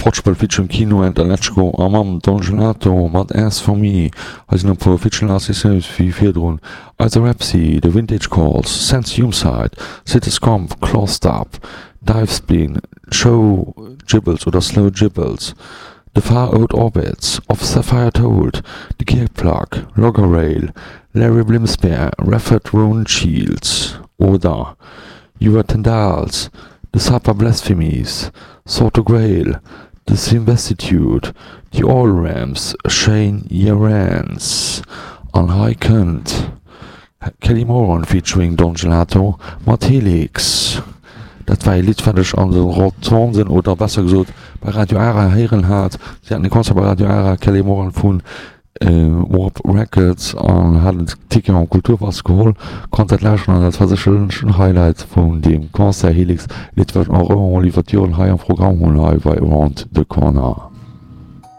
Fortschrëtt featuring Kino and Alechko a mam Don Gelato mat As For Me. Hei sinn e puer Featuring Artisten wéi virdrun, Either Repsy, The Vintage Calls, Sense Humeside, City Scomp, Clawstop, Dive Spleen, Show Gibbles oder Slow Gibbles, The Far Out Orbits, Of Sapphire Told, The Gear Plug, Logger Rail, Larry Blimspear, Rafford Roneshield oder You Are Tendals, The Supper Blasphemies, Sword to Grail, The Simvesstitude, The Oil Ramps, Shane Yerans an hei kënnt Kelly Moran featuring Don Gelato mat Helix. Dat war ee Lidd wat ech an de Rotonden oder besser gesot bei Radio Ara héieren hat. Si haten e Concert bei Radio Ara, Kelly Moran vun Warp Records an hat en Ticket am Kulturpass geholl, konnt dat lauschteren an dat war sécherlech en Highlight vun deem Concert. Helix, Lidd wat ech och ëmmer mol iwwer d'Joren hei am Programm hunn hei bei Around the Corner.